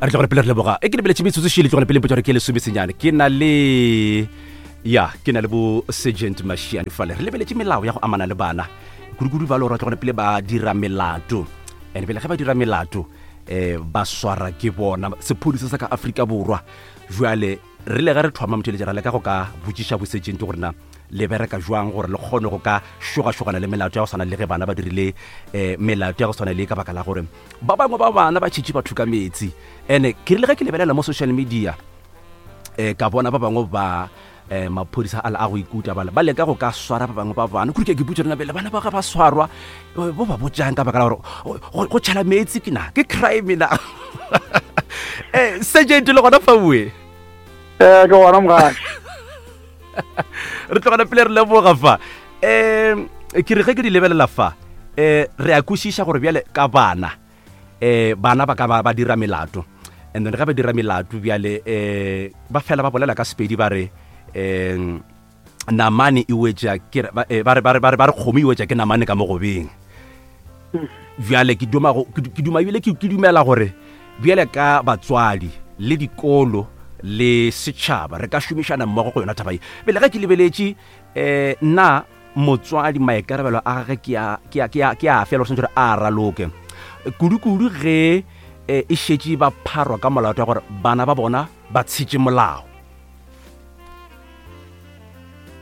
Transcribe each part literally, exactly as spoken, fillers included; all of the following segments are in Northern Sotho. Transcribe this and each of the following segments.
A re tlogele pele re leboga. E ke lebeletše metsotso šele tlogele pele mpotša gore ke lesomesenyane. Ke na le ya ke na le bo Sergeant Mashiane fale. Re lebeletše melao ya go amana le bana. Kudu-kudu ba le gore tlogele pele ba dira melato. And pele ge ba dira melato eh ba swara ke bona sephodisa sa ka Afrika Borwa. Jwale re le ge re thoma motheletše ra leka go ka botšiša bo sergeant gore na le bereka jwang gore le kgone go ka šogašogana le melato ya go swana le ge bana ba dirile um melato ya go swana le ka baka la gore ba bangwe ba bana ba tšhetše batho ka metsi. And ke rile ge ke lebelela mo social media um ka bona ba bangwe ba um maphodisa a le a go ikuta bale ba leka go ka swara ba bangwe ba bana kudu ke ke putse rena pele bana ba ga ba swarwa bo ba botjang ka baka la gore go go tšhela metsi ke na ke crime na. um sergeant le gona faue. Eh, ke gona mogaši. Re tlogela pele re leboga fa. Um ke re ge ke di lebelela fa um re a kwešiša gore bjale ka bana um bana ba ka ba ba dira melato, and then ge ba dira melato bjale um ba fela ba bolela ka Sepedi ba re um namane e wetša ke re- ba eh, ba re ba re ba re ba re kgomo e wetša ke namane ka mogobeng. Bjale ke duma go- ke ke duma ebile ke ke dumela gore bjale ka batswadi le dikolo le setšhaba re ka šomišana mmogo go yona taba ye. Pele ge ke lebeletše um nna motswadi maikarabelo a gage ke a ke a ke a ke a fela gore swanetše gore a raloke kudu-kudu ge eh, e šetše ba pharwa ka molato wa gore bana ba bona ba tshetše molao.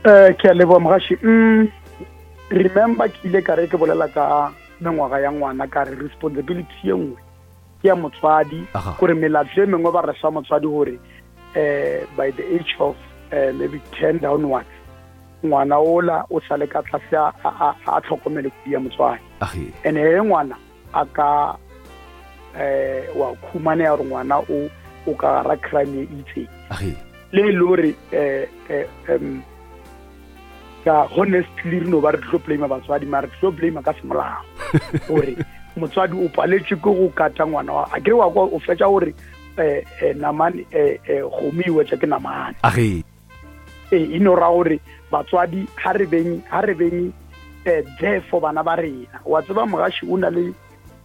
Eh, ke a leboga mogaši. Mm, remember ke ile ka re ke bolela ka mengwaga ya ngwana ka re responsibility ye nngwe ke ya motswadi, Aha. gore melato e mengwe ba re fa motswadi gore eh by the age of eh, maybe ten downwards ngwana ola o sale ka tlase a a- a tlhokomele kudu ya motswadi. Age. And he ngwana a ka eh wa khumanea gore ngwana o o ka gara crime e itseng, Age. le e le gore eh eh um ka honestly re no ba re tlo blame batswadi, mara re tlo blame ka semolao gore motswadi o paletswe ke go kata ngwana wa a kere wa kwa o fetša gore eh eh namane eh eh kgomo e wetša ke namane. Age. E e no ra gore batswadi ha re beng ha re beng eh there for bana ba rena. Wa tseba mogaši o na le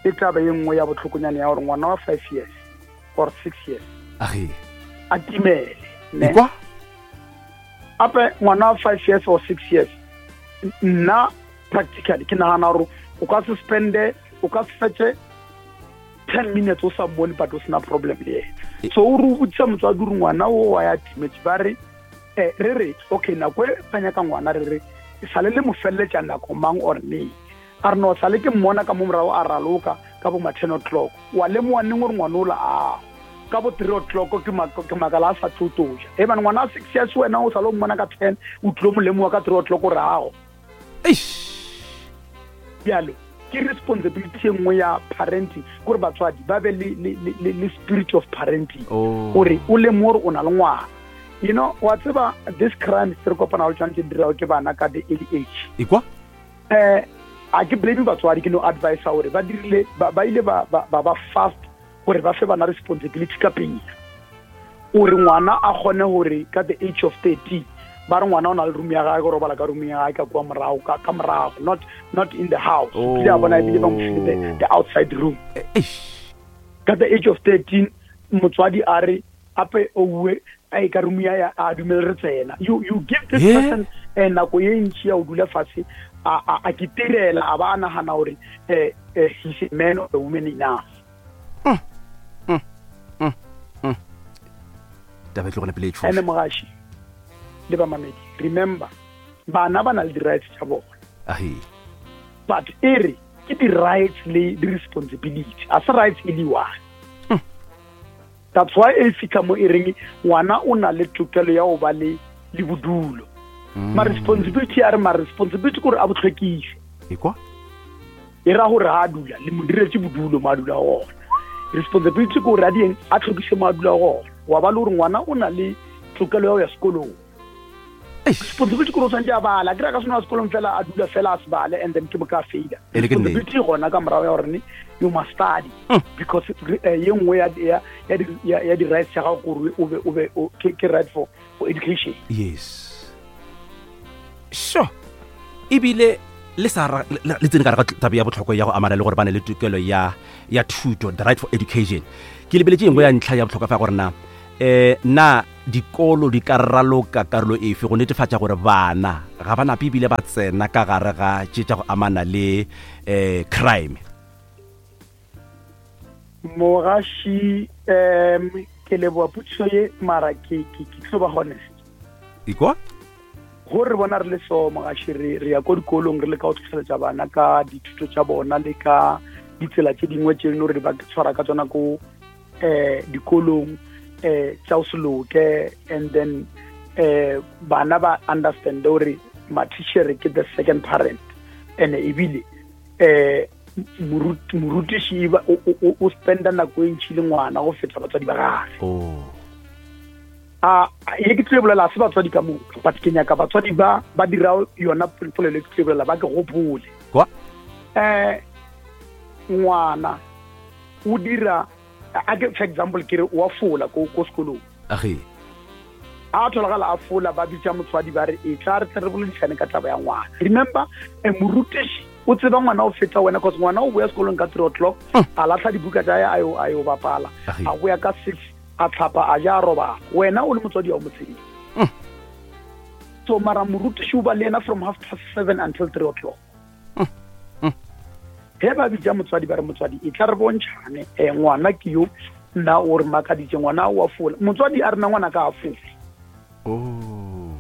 le taba ye nngwe ya botlhokonyane ya gore ngwana wa five years or six years Age. a timele, ne? Ekwa. Ape ngwana wa five years or six years, nna practically ke nagana gore o ka se spende o ka se fetše ten minutes o sa mmone but o sena problem le yena. So o re o botsisa motswadi gore ngwana o wa ya timetse, ba re eh re re okay nako e ba nyaka ngwana re re e sale le mo feleletša nako mang or neng, a re no sale ke mmona ka mo morago a raloka ka bo ma ten o'clock, wa lemoga neng gore ngwana ola a ka bo three o'clock ke mak- ke makala a sa tlo toja e bane ngwana a six years wena o sale o mmona ka ten o tlilo mo lemoga ka three o'clock gore ago. Eish. Bjalo ke responsibility e nngwe ya parenting gore batswadi ba be le, le, le, le, le spirit of parenting, Oh. gore o lemoge gore o na le ngwana. You know, wa tseba this crime se re kopana le tsone tse di dirago ke bana ka the early age, Ekwa. eh a ke blame batswadi, ke no advise gore ba dirile ba ba ile ba ba ba ba fast gore ba fe bana responsibility ka pele, gore ngwana a kgone gore ka the age of thirteen ba re ngwana o na le room ya gagwe, go robala ka room ya gagwe ka kua morago ka ka morago, not not in the house. Oh. Kile a bona ebile ba mo file the, the outside room. Eish. Ka the age of thirteen motswadi a re ape ouwe a ka room ya ya a dumele re tsena. you you give this Yeah. person eh, nako ye ntši ya go dula fatshe a a a kitirela a ba a nagana gore eh, eh, he's a man or a woman enough. Taba e tlogele pele e Ene tšhoša. mogaši le bamamedi, remember bana ba na le di-rights tša bona, Age. but e re ke di-rights le di-responsibility, a se rights e le one. That's why e fitlha mo e reng ngwana o na le tokelo ya go ba le le bodulo, ma responsibility a re ma responsibility kore a bo tlhwekise. Ekwa. E ra gore ha a dula le mo diretse bodulo mo a dula gona, responsibility ke gore a dieng a tlhokise mo a dula gona. Wa ba le gore ngwana o na le tokelo ya go ya sekolong, Eish. responsibility ke gore o tshwanetse a bala kry-a ka seno ya sekolong fela a dula fela a se bale and then ke moka a faila. E le ke nnete. Responsibility gona ka morago ya gore you must study because eh, ye nngwe ya ya ya di- ya ya di-rights tša gago kore o be o be o- ke ke right for for education. Yes, sure. Ebile le sa le tsene ka re ga taba ya botlhokwa ya go amana le gore ba ne le tokelo ya ya thuto, the right for education. Ke lebeletse engwe ya ntlha ya botlhokwa fa gore na eh na dikolo di ka raloka karolo efe go netefatša gore bana ga ba nape ebile ba tsena ka gare ga tše tša go amana le eh crime. Mogaši, um ke leboa potšišo ye, mara ke ke ke tlo ba honest. Ikwa go re bona re le so mogaši, re re ya ko dikolong re le ka go tlhotlheletša bana ka dithuto tša bona le ka ditsela tše dingwe tše leng gore ba tshwara ka tsona ko eh dikolong eh tša go se loke, and then eh bana ba understand gore matitšhere ke the second parent, and ebile eh morutiši o spenda nako e ntšhi le ngwana go feta batswadi ba gagwe. Oh. A ye ke tlo bolela se batswadi ka moka, but ke nyaka batswadi ba ba dira yona polelo ke tlo bolela ba ke gopole. Kwa? Eh ngwana o dira a ke for example ke re wa fola ko ko sekolong. Age. A tholagala a fola, ba bitsa motswadi ba re e tla re tle re boledišane ka taba ya ngwana. Remember, eh, morutiši o tseba ngwana o feta wena, cause ngwana o boya sekolong ka three o'clock, a latlha dibuka tsa ya a yo a yo bapala, a boya ka six, a tlhapa, a ja, a robala. Wena o le motswadi wa motsedi. So mara morutiši o ba le yena from half past seven until three o'clock. Ge ba bitsa motswadi ba re motswadi e tla re bontšhane, eh, ngwana ke yo nna o re makaditše, ngwana o a fola. Motswadi a rena ngwana ka a fole. Oh.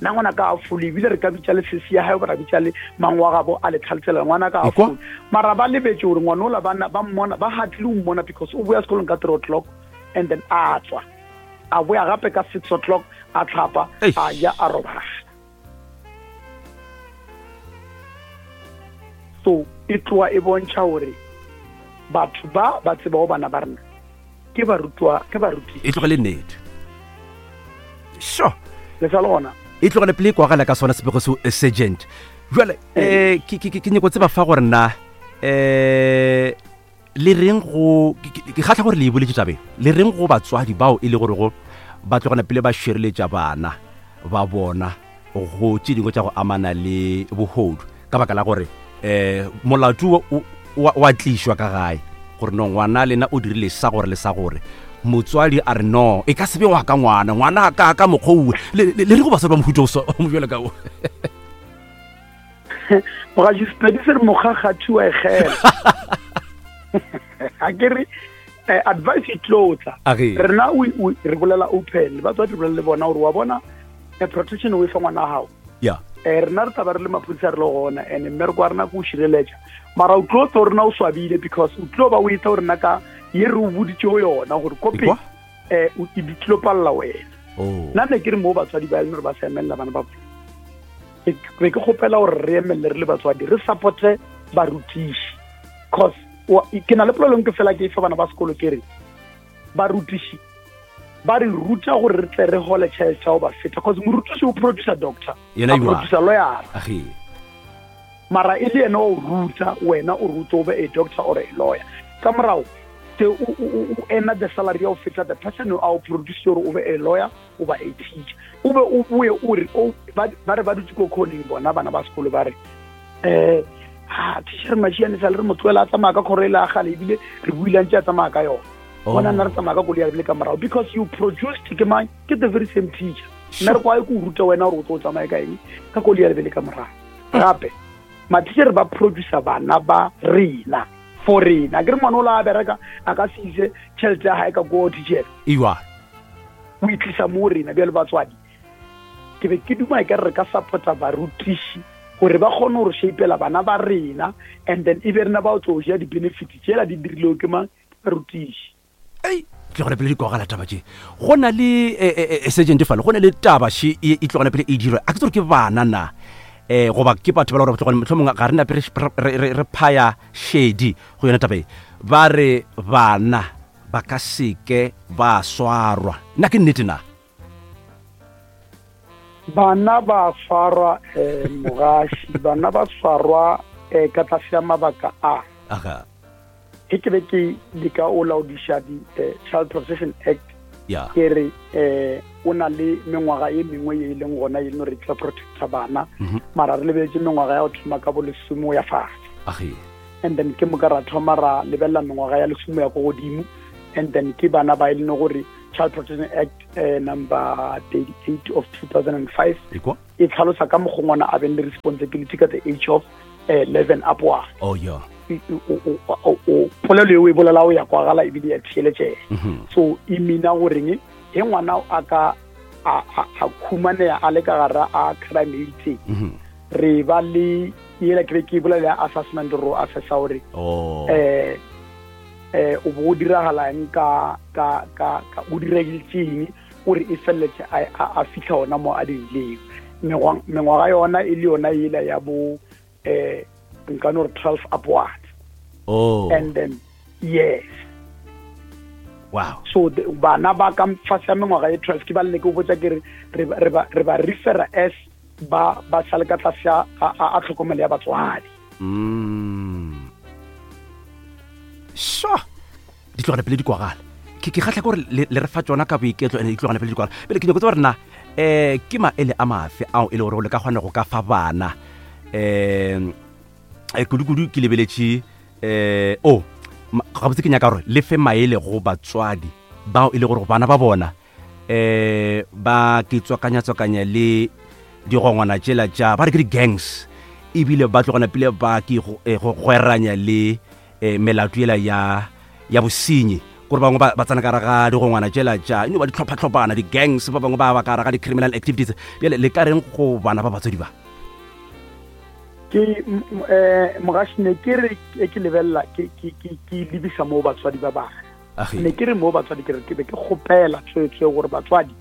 Nna ngwana ka a fole, ebile re ka bitša le sesi ya gae, ba ra bitša le mangwe wa gabo a le tlhaletsela ngwana ka a fole. Mara ba lebetse gore ngwana ola ba ba mmona, ba hatlile o mmona because o boya sekolong ka three o'clock and then a tswa. A boya gape ka six o'clock, a tlhapa, a ja, a robala. So e tloa e bontšha gore batho ba ba tsebago bana ba rena ke barutwa, ke baruti. E tlogele nnete. Sure. Le sa le gona. E tlogele pele kwagala ka sona sebego seo sergeant. Jwale eh ke ke ke nyako tseba fa gore na eh le reng go ke kgatla gore le e boletse tabe. Le reng go batswadi bao e le gore go ba tlogana pele ba šireletša bana ba bona go tše dingwe tša go amana le bohodu ka baka la gore eh molato wa tlišwa ka gae gore no ngwana lena o dirile sa gore le sa gore motswadi a re no e ka se be wa ka ngwana ngwana ka ka mokgwa le le re go basadi ba mohuta o so mo ka o mogaši Sepedi se re mokgakgathi wa egela. A ke re advice e tlo tla rena re bolela open, batswadi re bolela le bona gore wa bona protection o e fa ngwana gago. Yeah. Eh rena re taba re le maphodisa re le gona, and mmereko wa rena ke o šireletša, mara o tlo tlo rena o swabile because o tlo ba o etsa gore nna ka ye re o boditše go yona gore kope eh o e di tlo palla wena. Nna ne ke re mo batswadi ba leng gore ba sa emelela bana ba bona, be ke kgopela gore re emelele re le batswadi re supporte barutiši, cause ke na le polelong ke fela ke e fa bana ba sekolo ke re barutiši ba re ruta gore re tle re hole tšhelete ya go ba feta, cause morutiši o producer doctor, a producer lawyer, mara e le yena o ruta wena o ruta o be a doctor or a lawyer. Ka morago te o ena the salary ya go feta the person a o produce gore o be a lawyer o ba a teacher, o be o boe o re ba re ba dutse ko kgoneng bona bana ba sekolo ba re eh ha teacher Mashiane sa le re motloela a tsamaya ka kgoro e le a gale ebile re buile ntse a tsamaya ka yona. Bona nna re tsamaya ka koloi ya lebile ka morago because you produced ke mang, ke the very same teacher. Nna re kwa ke o ruta wena gore o tlo o tsamaye ka eng ka koloi ya lebile ka morago. Gape matitšhere ba producer bana ba rena for rena, ke re ngwana o la a bereka a ka se ise tšhelete ya gae ka ko teacher iwa o itlisa mo rena. Bjale batswadi ke be ke duma e ka re re ka supporta barutiši gore ba kgone gore shapela bana ba rena, and then e be rena ba o tlo ja di-benefits tšela di dirilego ke mang, barutiši. Ei tlogela pele di kwagala taba tše. Go na le sergeant fale, go na le taba še e tlogela pele e dirwa, a ke tsore ke bana na eh goba ke batho ba le gore tlogela mohlomongwe ga re nape re phaya shedi go yona taba e. Ba re bana ba ka seke ba swarwa, nna ke nnete na? Bana ba swarwa eh mogaši, bana ba swarwa eh ka tlase ya mabaka a. Aga. Ke ke be ke leka o laodiša di Child Protection Act. Yeah. Ke re eh o na le mengwaga e mengwe ye e leng gona e leng gore e tla protecta bana mhm. mara re lebeletse mengwaga ya go thoma ka bo lesome o ya fatshe and then ke moka ra thoma ra lebelela mengwaga ya lesome ya ko godimo and then ke bana ba e leng gore Child Protection Act uh, number thirty-eight of two thousand five e tlhalosa ka mokgwa ngwana a beng le responsibility ka the age of eleven upward. Oh yeah. Polelo eo e bolela o ya kwagala ebile ya theeletšega. So e mina goreng he ngwana a ka a a khumanea a le ka gara a crime e itseng re ba le yela ke be ke bolela assessment ro assessa gore eh eh o bo diragalang ka ka ka o diregiletseng gore e felletse a a fitlha ona mo a dirileng mengwaga yona e le yona ela ya bo eh nka no re twelve upward. Oh. And then yes. Wow. So bana ba ka fase ya mengwaga e twelve ke ba le ke botsa ke re re ba re ba refer as ba ba sale ka tlase a a tlhokomelo ya batswadi. Mm. Sure. Di tlogela pele di kwagala. Ke ke kgatlha gore le re fa tsona ka boiketlo ene di tlogela pele di kwagala. Pele ke nyako tseba gore na eh ke maele a mafe ao e le gore le ka kgona go ka fa bana eh e kudu-kudu ke lebeletše eh oh gabotse ke nyaka gore le fe maele go batswadi bao e le gore bana ba bona eh ba ke tswakanya-tswakanya le digongwana tšela tša ba re ke di-gangs ebile ba tlogana pele ba ke go gweranya le melato ela ya ya bosenyi gore bangwe ba tsena ka gare ga digongwana tšela tša eno ba ditlhopha-tlhophana di-gangs ba bangwe ba ba ka gare ga di-criminal activities. Bjale le ka reng go bana ba batswadi ba? Ke eh mogashi ne ke re ke lebella ke ke ke lebisa mo batswadi ba bana ne ke re mo batswadi ke re ke be ke kgopela tswetswe gore batswadi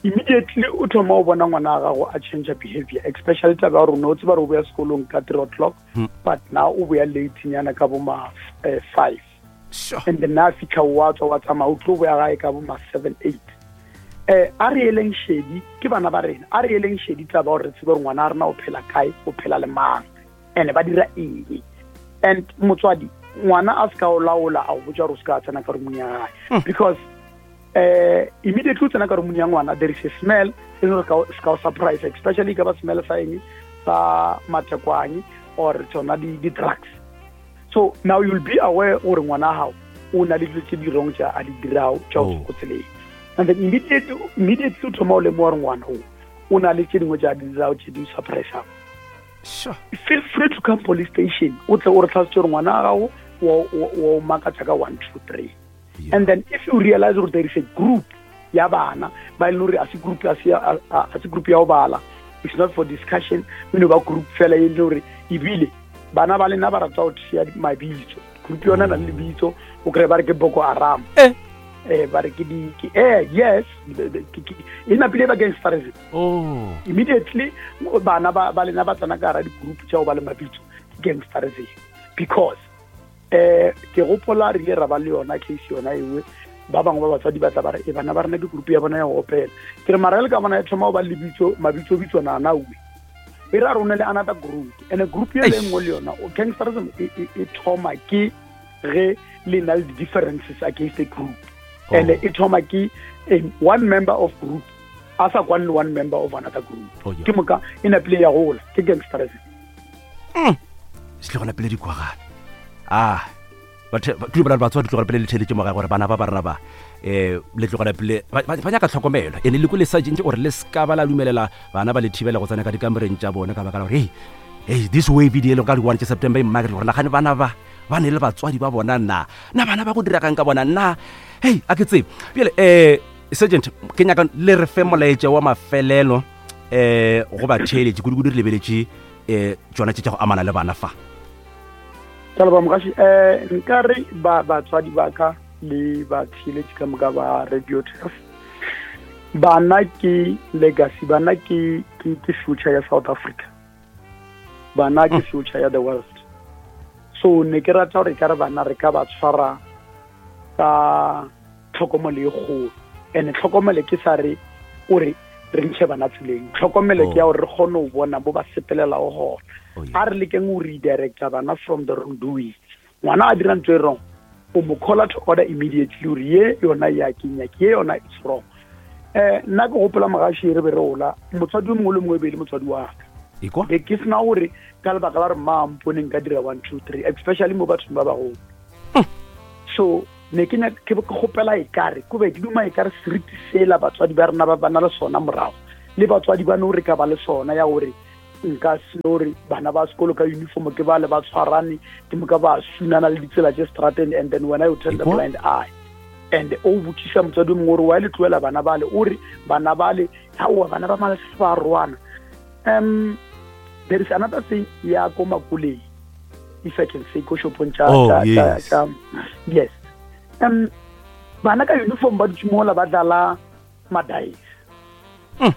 immediately o thoma o bona ngwana wa gago a change behavior, especially taba ya rona o tseba re o boya sekolong ka three o'clock hmm. but now o boya late nyana ka bo ma eh, five. Sure. And then na fitlha wa tswa wa tsamaya o tlo boya gae ka bo ma seven eight. Eh a re eleng shedi ke bana ba rena a re eleng shedi taba gore re tsebe gore ngwana a rena o phela kae o phela le mang and ba dira eng. And motswadi ngwana a se ka o laola a o botsa gore o se ka tsena ka roomong ya gae because eh immediately o tsena ka roomong ya ngwana there is a smell e leng gore se ka o surprise, especially ka ba smell sa eng sa matekwane or tsona di drugs. So now you'll be aware gore ngwana gago o na le dilo tse di wrong tsa a di dirago tša o go tseleng. And then immediately immediately o thoma o lemoga gore ngwana o o na le tse dingwe tša di dirago tse di surprise. Sure. Feel free to come police station o tle o re tlhalosetse gore ngwana gago o makatsa ka one two three. Yeah. And then if you realize that there is a group ya bana ba e leng gore a se group a se a se group ya go bala, it's not for discussion, we know ba group fela e leng gore ebile bana ba lena ba rata go tšea mabitso group yona na le lebitso o kry ba re ke Boko Haram eh eh ba re ke di ke eh yes e napile ba gangsterism. Oh. Immediately bana ba ba lena ba tsena ka gara di-group tša go ba le mabitso gangsterism because eh ke gopola re ile ra ba le yona case yona ewe ba bangwe ba batswadi ba tla ba re e bana ba rena ke group ya bona ya go opela ke re mara le ka bona e thoma go ba le lebitso mabitso bitso nana uwe e ra rone le another group and a group ye le nngwe le yona gangsterism e thoma ke ge le na le differences against a group. Oh. And e thoma ke one member of group a sa kwane le one member of another group. Oh, yeah. Ke moka e napile ya gola ke gangsterism. Mm. Se tlogela pele di kwagala. Ah batho ba ba batswadi tlogela pele le theletše mogae gore bana ba ba rena ba eh le tlogela pele ba nyaka tlhokomelo ene le kule sergeant gore le ska ba la dumelela bana ba le thibela go tsena ka dikamoreng tša bona ka baka la gore hey hey this way video le ka di one September e mmakere gore nagane bana ba ba ne le batswadi ba bona na na bana ba go diragang ka bona na hey a ke tsebe bjale eh sergeant ke nyaka le re fe molaetša wa mafelelo eh go ba theeletše kudu-kudu re lebeletše eh tsona tše tša go amana le bana fa. Ka leboha mogashi eh nka re ba batswadi ba ka le batheeletši ka moka ba Radio Turf bana ke legacy, bana ke ke ke future ya South Africa, bana ke future ya the world. So ne ke rata gore ka re bana re ka ba tshwara ka tlhokomelo e kgolo and tlhokomelo ke sa re o re re ntshe bana tseleng, tlhokomelo ke ya gore re kgone go bona bo ba sepelelago gona. A re lekeng go redirecta bana from the wrong doing. Ngwana a dira ntho e wrong o mo call to order immediately gore ye yona ya kenya ke ye yona it's wrong. Um nna ke gopola mogaši re be re gola, motswadi o mongwe le mongwe e be e le motswadi wa ka. Ekwa. Be ke sena gore ka lebaka la gore mma mpone nka dira one two three, especially mo bathong ba bagolo. So ne ke nyaka- ke ke kgopela ekare ko be ke duma ekare seriti sela batswadi ba rena ba ba na le sona morago, le batswadi ba no re ka ba le sona ya gore nka se no gore bana ba sekolo ka uniform ke ba le ba tshwarane ke moka ba sunana le ditsela tše strateng, and then wena you turn the Ekwa? blind eye. And o botšiša motswadi o mongwe gore wa le tlohela bana bale, o re bana bale aowa, bana ba malese ba roana. um there is another thing ya ko makoleng, if I can say, ko shopong tša Oh, tša- tša- yes. tša- yes, um bana ka uniform ba dutše mola ba dlala madice. Mm.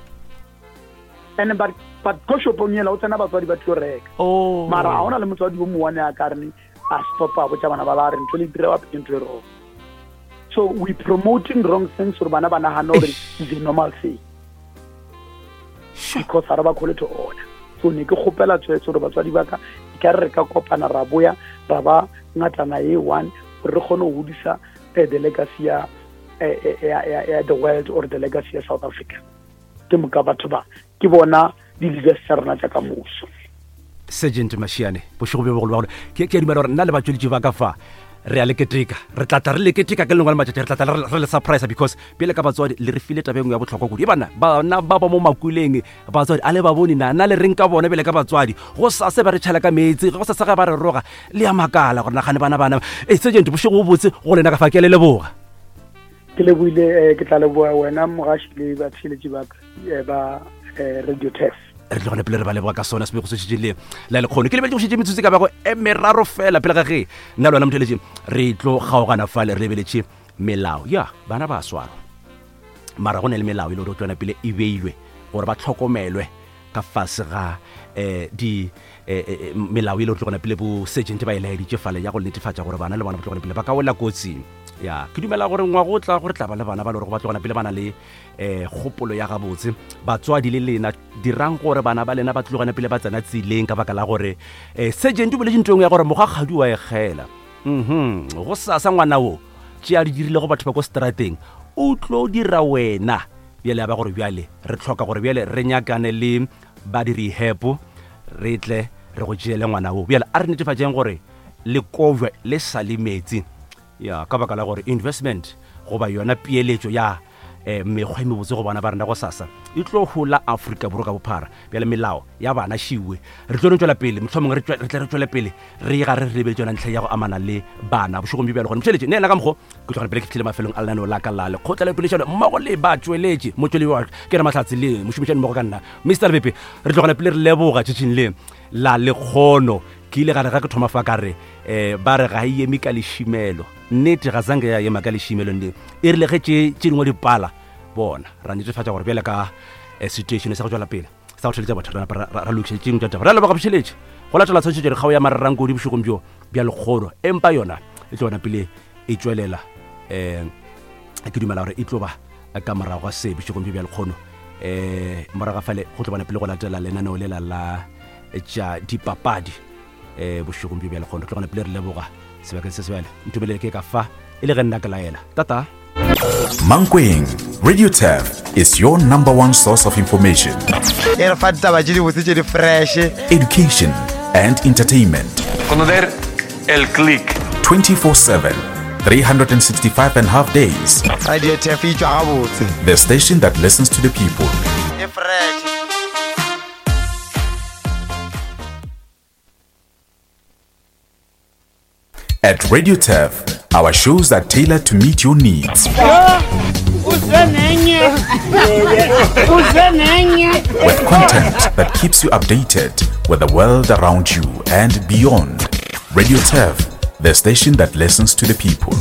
And but but ko shopong ela o tsena batswadi ba tlo reka. Oh. Mara ga ona le motswadi o mongwane a ka rene a stopa a botša bana ba ba re ntho le dira bape ke ntho e wrong. So we promoting wrong things gore bana ba nagane gore is a normal thing Sure. because ga re ba call to order. So ne ke kgopela tswetse gore batswadi ba ka e ka re re ka kopana ra boya ra ba ngatana e one gore re kgone go godisa eh, the legacy ya eh, eh, ya ya- ya the world or the legacy ya South Africa. Ke moka batho ba ke bona di-leaders tsa rena tša ka moso. Sergeant Mashiane, bošego bjo bogolo ba gore ke ke a dumela gore nna le batsweletši ba ka fa re a le keteka, re tlatla re le keteka ke lengwe la matšatši, re tlatla re re le surprise because pele ka batswadi le re file taba e nngwe ya bohlokwa kudu. E bana bana ba ba mo makuleng, batswadi a le ba bone na na le reng ka bona bele ka batswadi go sase ba re tšhela ka meetse, go sase ga ba re roga le ya makala gore nagane bana bana. E sergeant, bošego bo botse go lena ka fa, ke a le leboga. Ke leboile, eh, ke tla leboa wena mogaši le batheeletši ba ka, eh, ba eh, Radio Tef. Re tlo gona pele re ba leboga ka sona sebego se šetše le la lekgono. Ke lebetse go šetše metsotso e ka bago e meraro fela pele ga ge nna le wena motheletše re tlo kgaogana fale. Re lebeletše melao ya bana ba swarwa, mara go ne le melao e le gore o tlona pele e beilwe gore ba tlhokomelwe ka fase ga um di eh, eh, melao e le gore tlogona pele bo sergeant ba e laeditše fale ya go netefatša gore bana le bona ba tlogona pele ba ka wela kotsing. Ya ke dumela gore ngwago o tla gore tla ba le bana ba le gore ba tlogona pele ba na le um kgopolo ya gabotse. Batswadi le lena dirang gore bana ba lena ba tlogana pele ba tsena tseleng ka baka la gore um sergeant o boletše ntho e nngwe ya gore mogakgadi wa egela mhm go sasa ngwana o tše a di dirile go batho ba ko strateng o tlo dira wena. Bjale ya ba gore bjale re tlhoka gore bjale re nyakane le ba di-rehab re tle re go tšeele ngwana o. Bjale a re netefatšeng gore le kojwe le sa le metsi ya ka baka la gore investment goba yona peeletšo ya eh, mekgwa e mebotse go bana ba rena go sasa e tlo hola Afrika Borwa ka bophara. Bjale melao ya bana šiwe re tlo no tšwela pele, mohlomongwe re tšwe- re tle re tšwele pele re ga re lebetse yona ntlha ya go amana le bana bošegong bjo bjale. Gone motheletše ne ena ka mokgo ke tlogela pele ke fitlhile mafelong a lenaneo la ka la lekgotla la poledišano mmogo le batsweletši motsweledi wa ke re mahlatse le mošomišani mmogo ka nna Mister Lebepe. Re tlogela pele re leboga tšhetšhing le la lekgono. Ke ile gare ga ke thoma fa ka re um ba re ga e eme ka lešimelo, nnete ga zanke ya ema ka lešimelo nne e rile ge tše tše dingwe di pala bona ra netefatša gore bjale ka eh, situation sa go tswela pele sa go theletša batho re napa ra- ra ra lokiša tše dingwe tša taba. Re a leboga bošeletše go latela tshwantšhetšo dikgao ya marerankodi bošegong bjo bja lekgolo, empa yona e tlo bona pele e tšwelela um ke dumela gore e tlo ba ka morago ga se bošegong bjo bja lekgono. Um morago ga fale go tlo bona pele go latela lenaneo lela la tša dipapadi um bošegong bjo bja lekgono. Tlo gona pele re leboga sebakeng se sebjale ntumelele ke ka fa e le ge nna ke laela tata. Mankweng, Radio Turf is your number one source of information, e re fa ditaba tše dibotse tše di fresh, education, and entertainment. Conocer el click. twenty-four seven, three hundred sixty-five and a half days. Radio Tef e tšwa gabotse. The station that listens to the people. E fresh. At Radio Turf, our shows are tailored to meet your needs. With content that keeps you updated with the world around you and beyond. Radio Turf, the station that listens to the people.